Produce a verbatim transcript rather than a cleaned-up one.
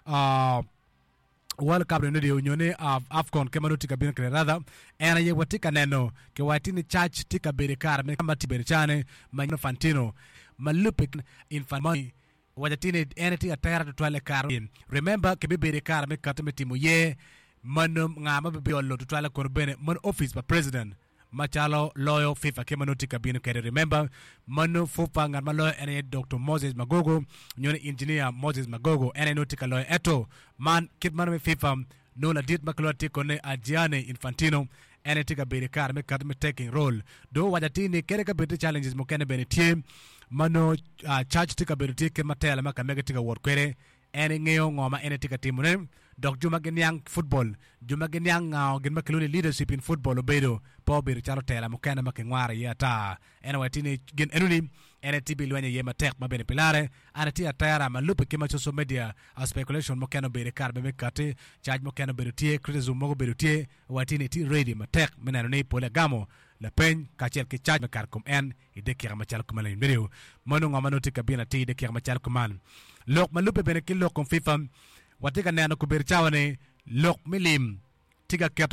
uh, World Cup ni onyo ni uh, AFCON ke ma nongo tye ka bino kwede rather en aye watye ka neno ki waci ni cac tye ka bedo i kare me ma tye bedo cane ma Infantino ma lubbe Infantino waco atir ni en tye atera tutwal i kare remember kibibedo i kare me kati me timo ye mano nga ma bibiyolo tutwal kono bene mano office pa president macalo loyo FIFA ke ma nongo tye ka bino kwede remember mano FUFA ngat ma loyo en aye Dr. Moses Magogo nyo ni engineer Moses Magogo en aye nongo tye ka loyo eto man kit mano me FIFA nongo ladit ma kilwongo tye kone Gianni Infantino en aye tye ka bedo i kare me kati me taking role do waco atir ni kede ka bed tye challenges mukene bene tye ma nongo uh, church tye ka bedo tye kit ma tela ma ka mege tye ka wot kwede en ngeyo ngo ma en tye ka timone dok jo ma giniang football jo ma giniang ngao gin ma kilwongo ni leadership in football obedo pe obedo calo tela mukene ma kingwaro iye ata en owaco ni gin enoni en aye tye bilwenyo iye matek ma bene pilare an atye atera ma lubbe ki ma social media uh, speculation mukene obedo i kare me kati cac mukene obedo tye criticism mogo obedo tye owaco ni tye ready matek me neno ni pole agamo lapeny kacel ki cac me kare kom en i dakika macalo kuman video mano ngo ma nongo tye ka bino atir i dakika macalo kuman lok ma lubbe bene ki lok kom FIFA watye ka neno kobedo cawa ni lok me lim tye ka keto